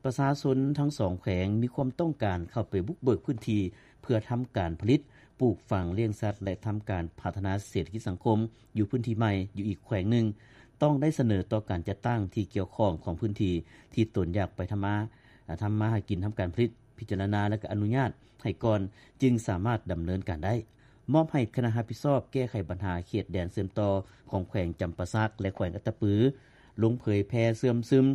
ປະຊາຊົນທັງສອງແຂວງມີຄວາມຕ້ອງການເຂົ້າໄປບຸກເບີກພື້ນທີ່ ເພື່ອທຳການຜະລິດ, ປູກຝັງ, ລ້ຽງສັດ ແລະ ທຳການພັດທະນາເສດຖະກິດສັງຄົມຢູ່ພື້ນທີ່ໃໝ່ຢູ່ອີກແຂວງໜຶ່ງ, ຕ້ອງໄດ້ສະເໜີຕໍ່ການຈັດຕັ້ງທີ່ກ່ຽວຂ້ອງຂອງພື້ນທີ່ທີ່ຕົນຢາກໄປທຳມາ ທຳມາຫາກິນ, ທຳການຜະລິດ, ພິຈາລະນາ ແລະ ອະນຸຍາດໃຫ້ກ່ອນ, ຈຶ່ງສາມາດດຳເນີນການໄດ້. ມອບໃຫ້ຄະນະຮັບຜິດຊອບແກ້ໄຂບັນຫາເຂດແດນເຊື່ອມຕໍ່ຂອງແຂວງຈຳປາສັກ ແລະ ແຂວງອັດຕະປື ລົງເຜີຍແຜ່ເຊື່ອມຊຶມ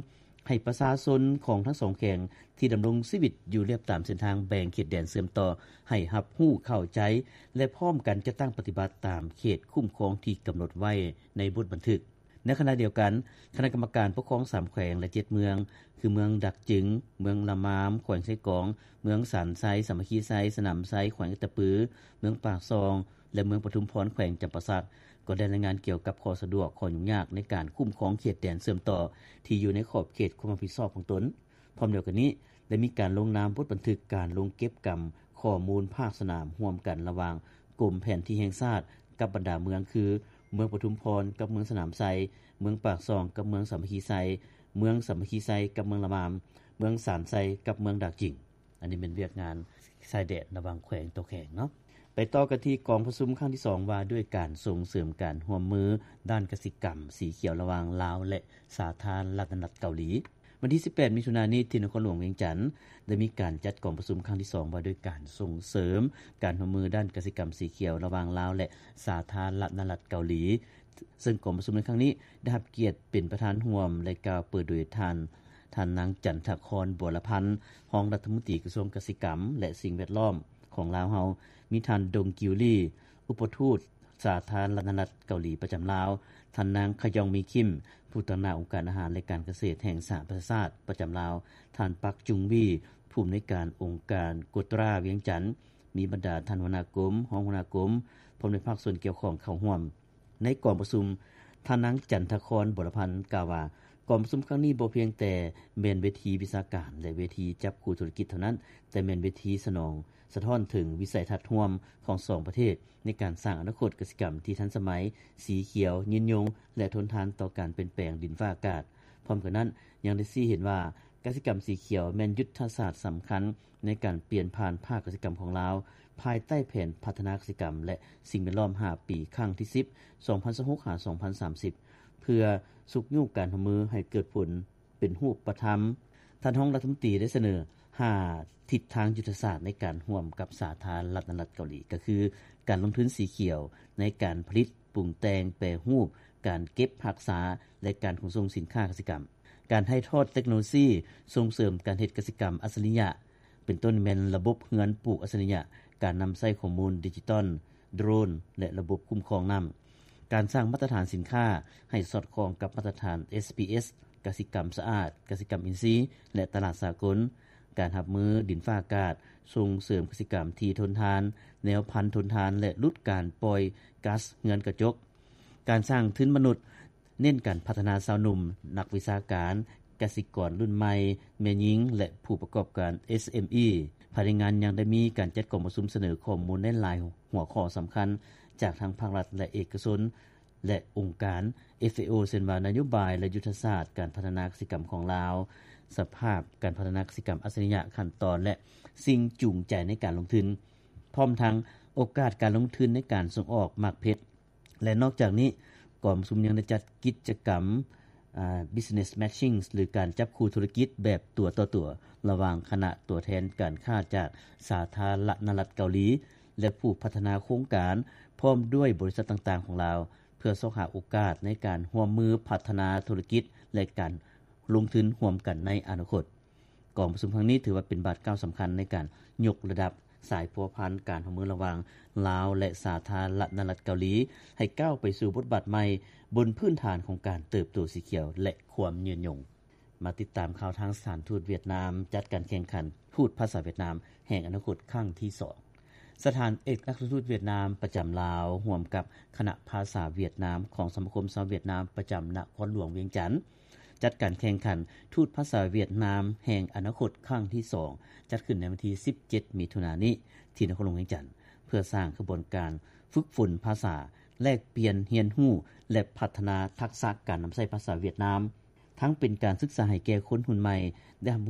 ໃຫ້ປະຊາຊົນຂອງທັງສອງແຂວງທີ່ດຳລົງຊີວິດຢູ່ລຽບຕາມເສັ້ນທາງແບ່ງເຂດແດນເຊື່ອມຕໍ່ ໃຫ້ຮັບຮູ້ເຂົ້າໃຈ ແລະ ພ້ອມກັນຈັດຕັ້ງປະຕິບັດຕາມເຂດຄຸ້ມຄອງທີ່ກຳນົດໄວ້ໃນບົດບັນທຶກ. ໃນຂະນະດຽວກັນ, ຄະນະກຳມະການປົກຄອງສາມແຂວງ ແລະ ເຈັດເມືອງ ຄື ເມືອງດາກຈຶງ, ເມືອງລະມາມ ແຂວງເຊກອງ, ເມືອງສານໄຊ, ສາມັກຄີໄຊ, ສະໜາມໄຊ ແຂວງອັດຕະປື, ເມືອງປາກຊ່ອງ ແລະ ເມືອງປະທຸມພອນ ແຂວງຈຳປາສັກ ກໍໄດ້ລາຍງານກ່ຽວກັບຂໍ້ສະດວກ, ຂໍ້ຫຍຸ້ງຍາກໃນການຄຸ້ມຄອງເຂດແດນເຊື່ອມຕໍ່ທີ່ຢູ່ໃນຂອບເຂດຄວາມຮັບຜິດຊອບຂອງຕົນ. ພ້ອມດຽວກັນນີ້, ໄດ້ມີການລົງນາມບົດບັນທຶກການລົງເກັບກຳຂໍ້ມູນພາກສະໜາມຮ່ວມກັນລະຫວ່າງກົມແຜນທີ່ແຫ່ງຊາດກັບບັນດາເມືອງ ຄື ເມືອງປະທຸມພອນກັບເມືອງສະໜາມໄຊ, ເມືອງປາກຊ່ອງກັບເມືອງສາມັກຄີໄຊ, ເມືອງສາມັກຄີໄຊກັບເມືອງລະມາມ, ເມືອງສານໄຊກັບເມືອງດາກຈຶງ. ອັນນີ້ແມ່ນວຽກງານຊາຍແດນລະຫວ່າງແຂວງຕໍ່ແຂວງເນາະ. ໄປຕໍ່ກັນທີ່ກອງປະຊຸມຄັ້ງທີສອງ ວ່າດ້ວຍການສົ່ງເສີມການຮ່ວມມືດ້ານກະສິກຳສີຂຽວລະຫວ່າງລາວ ແລະ ສາທາລະນະລັດເກົາຫຼີ. ວັນທີສິບແປດ ມິຖຸນານີ້ ທີ່ນະຄອນຫຼວງວຽງຈັນ ໄດ້ມີການຈັດກອງປະຊຸມຄັ້ງທີສອງ ວ່າດ້ວຍການສົ່ງເສີມການຮ່ວມມືດ້ານກະສິກຳສີຂຽວລະຫວ່າງລາວ ແລະ ສາທາລະນະລັດເກົາຫຼີ. ເຊິ່ງກອງປະຊຸມໃນຄັ້ງນີ້ໄດ້ຮັບກຽດເປັນປະທານຮ່ວມ ແລະ ກ່າວເປີດໂດຍທ່ານ ທ່ານນາງ ຈັນທະຄອນ ບົວລະພັນ ຮອງລັດຖະມົນຕີກະຊວງກະສິກຳ ແລະ ສິ່ງແວດລ້ອມຂອງລາວເຮົາ, ມີທ່ານ ດົງ ກິວລີ ອຸປະທູດສາທາລະນະລັດເກົາຫຼີປະຈຳລາວ, ທ່ານນາງ ຂະຢອງ ມີຄິມ ຜູ້ຕາງໜ້າອົງການອາຫານ ແລະ ການກະເສດແຫ່ງສະຫະປະຊາຊາດປະຈຳລາວ, ທ່ານ ປັກ ຈຸງວີ ຜູ້ອຳນວຍການອົງການໂກຕຣາວຽງຈັນ, ມີບັນດາທ່ານຫົວໜ້າກົມ, ຮອງຫົວໜ້າກົມ ພ້ອມດ້ວຍພາກສ່ວນກ່ຽວຂ້ອງເຂົ້າຮ່ວມ. ໃນກອງປະຊຸມ, ທ່ານນາງ ຈັນທະຄອນ ບົວລະພັນ ກ່າວວ່າ ກອງປະຊຸມຄັ້ງນີ້ບໍ່ພຽງແຕ່ແມ່ນເວທີວິຊາການ ແລະ ເວທີຈັບຄູ່ທຸລະກິດເທົ່ານັ້ນ, ແຕ່ແມ່ນເວທີສະໜອງ ສະທ້ອນເຖິງວິໄສທັດຮ່ວມຂອງສອງປະເທດ ໃນການສ້າງອະນາຄົດກະສິກຳທີ່ທັນສະໄໝ, ສີຂຽວ, ຍືນຍົງ ແລະ ທົນທານຕໍ່ການປ່ຽນແປງດິນຟ້າອາກາດ. ພ້ອມກັນນັ້ນ, ຍັງໄດ້ຊີ້ເຫັນວ່າ ກະສິກຳສີຂຽວແມ່ນຍຸດທະສາດສຳຄັນ ໃນການປ່ຽນຜ່ານພາກກະສິກຳຂອງລາວ ພາຍໃຕ້ແຜນພັດທະນາກະສິກຳ ແລະ ສິ່ງແວດລ້ອມຫ້າປີ ຄັ້ງທີສິບ ສອງພັນຊາວຫົກ ຫາ ສອງພັນສາມສິບ ເພື່ອຊຸກຍູ້ການຮ່ວມມືໃຫ້ເກີດຜົນເປັນຮູບປະທຳ. ທ່ານຮອງລັດຖະມົນຕີໄດ້ສະເໜີຫ້າທິດທາງຍຸດທະສາດໃນການຮ່ວມກັບສາທາລະນະລັດເກົາຫຼີ ກໍຄື ການລົງທຶນສີຂຽວໃນການຜະລິດ, ປຸງແຕ່ງ, ແປຮູບ, ການເກັບຮັກສາ ແລະ ການຂົນສົ່ງສິນຄ້າກະສິກຳ. ການຖ່າຍທອດເຕັກໂນໂລຊີ ສົ່ງເສີມການເຮັດກະສິກຳອັດສະລິຍະ ເປັນຕົ້ນແມ່ນລະບົບເຮືອນປູກອັດສະລິຍະ, ການນຳໃຊ້ຂໍ້ມູນດິຈິຕອນ, ໂດຣນ ແລະ ລະບົບຄຸ້ມຄອງນ້ຳ. ການສ້າງມາດຕະຖານສິນຄ້າໃຫ້ສອດຄ່ອງກັບມາດຕະຖານ ເອສພີເອສ, ກະສິກຳສະອາດ, ກະສິກຳອິນຊີ ແລະ ຕະຫຼາດສາກົນ. ການຮັບມືດິນຟ້າອາກາດ, ສົ່ງເສີມກະສິກຳທີ່ທົນທານ, ແນວພັນທົນທານ ແລະ ຫຼຸດການປ່ອຍກັສເຮືອນກະຈົກ. ການສ້າງທຶນມະນຸດ, ເນັ້ນການພັດທະນາຊາວໜຸ່ມ, ນັກວິຊາການ, ກະສິກອນລຸ້ນໃໝ່, ແມ່ຍິງ ແລະ ຜູ້ປະກອບການ ເອສເອັມອີ. ພາຍໃນງານຍັງໄດ້ມີການຈັດກອງປະຊຸມສະເໜີຂໍ້ມູນໃນຫຼາຍຫົວຂໍ້ສຳຄັນ ຈາກທັງພາກລັດ ແລະ ເອກະຊົນ ແລະ ອົງການ ເອຟເອໂອ ເຊັ່ນວ່າ ນະໂຍບາຍ ແລະ ຍຸດທະສາດການພັດທະນາກະສິກຳຂອງລາວ, ສະພາບການພັດທະນາກະສິກຳອັດສະລິຍະ, ຂັ້ນຕອນ ແລະ ສິ່ງຈູງໃຈໃນການລົງທຶນ, ພ້ອມທັງໂອກາດການລົງທຶນໃນການສົ່ງອອກໝາກເພັດ. ແລະ ນອກຈາກນີ້, ກອງປະຊຸມຍັງໄດ້ຈັດກິດຈະກຳ ອາ business matching ຫຼື ການຈັບຄູ່ທຸລະກິດແບບຕົວຕໍ່ຕົວ ລະຫວ່າງຄະນະຕົວແທນການຄ້າຈາກສາທາລະນະລັດເກົາຫຼີ ແລະ ຜູ້ພັດທະນາໂຄງການ ພ້ອມດ້ວຍບໍລິສັດຕ່າງໆຂອງລາວ ເພື່ອຊອກຫາໂອກາດໃນການຮ່ວມມືພັດທະນາທຸລະກິດ ແລະ ການລົງທຶນຮ່ວມກັນໃນອະນາຄົດ. ກອງປະຊຸມຄັ້ງນີ້ຖືວ່າເປັນບາດກ້າວສຳຄັນໃນການຍົກລະດັບສາຍພົວພັນການຮ່ວມມືລະຫວ່າງລາວ ແລະ ສາທາລະນະລັດເກົາຫຼີ ໃຫ້ກ້າວໄປສູ່ບົດບາດໃໝ່ ບົນພື້ນຖານຂອງການເຕີບໂຕສີຂຽວ ແລະ ຄວາມຍືນຍົງ. ມາຕິດຕາມຂ່າວທາງສະຖານທູດຫວຽດນາມ ຈັດການແຂ່ງຂັນທູດພາສາຫວຽດນາມແຫ່ງອະນາຄົດຄັ້ງທີສອງ. ສະຖານເອກອັກຄະທູດຫວຽດນາມປະຈຳລາວ ຮ່ວມກັບຄະນະພາສາຫວຽດນາມຂອງສະມາຄົມຊາວຫວຽດນາມປະຈຳນະຄອນຫຼວງວຽງຈັນ ຈັດການແຂ່ງຂັນທູດພາສາຫວຽດນາມແຫ່ງອະນາຄົດຄັ້ງທີສອງ ຈັດຂຶ້ນໃນວັນທີສິບເຈັດ ມິຖຸນານີ້ ທີ່ນະຄອນຫຼວງວຽງຈັນ ເພື່ອສ້າງຂະບວນການຝຶກຝົນພາສາ, ແລກປ່ຽນຮຽນຮູ້ ແລະ ພັດທະນາທັກສະການນຳໃຊ້ພາສາຫວຽດນາມ, ທັງເປັນການສຶກສາໃຫ້ແກ່ຄົນຮຸ່ນໃໝ່ໄດ້ຮັບຮູ້